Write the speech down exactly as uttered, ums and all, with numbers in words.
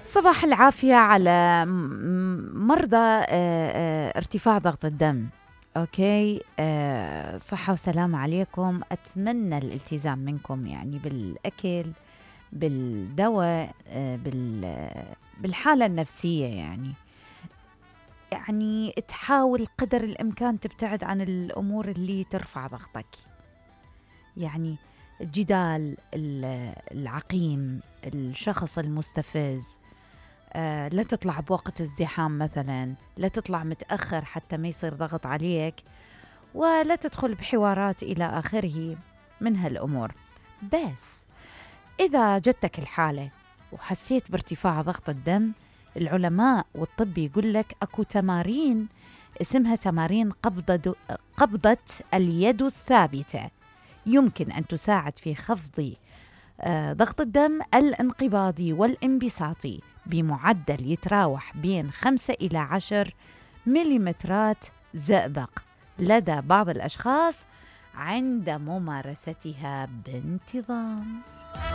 صباح العافية على م- مرضى آه، آه، ارتفاع ضغط الدم. أوكي، آه، صحة وسلامة عليكم. أتمنى الالتزام منكم يعني بالأكل، بالدواء، آه، بال- بالحالة النفسية. يعني يعني تحاول قدر الإمكان تبتعد عن الأمور اللي ترفع ضغطك، يعني الجدال ال- العقيم، الشخص المستفز. آه، لا تطلع بوقت الزحام مثلا، لا تطلع متأخر حتى ما يصير ضغط عليك، ولا تدخل بحوارات إلى آخره من هالأمور. بس إذا جتك الحالة وحسيت بارتفاع ضغط الدم، العلماء والطب يقول لك أكو تمارين اسمها تمارين قبضة, قبضة اليد الثابتة، يمكن أن تساعد في خفض آه، ضغط الدم الانقباضي والانبساطي بمعدل يتراوح بين خمسة إلى عشر مليمترات زئبق لدى بعض الأشخاص عند ممارستها بانتظام.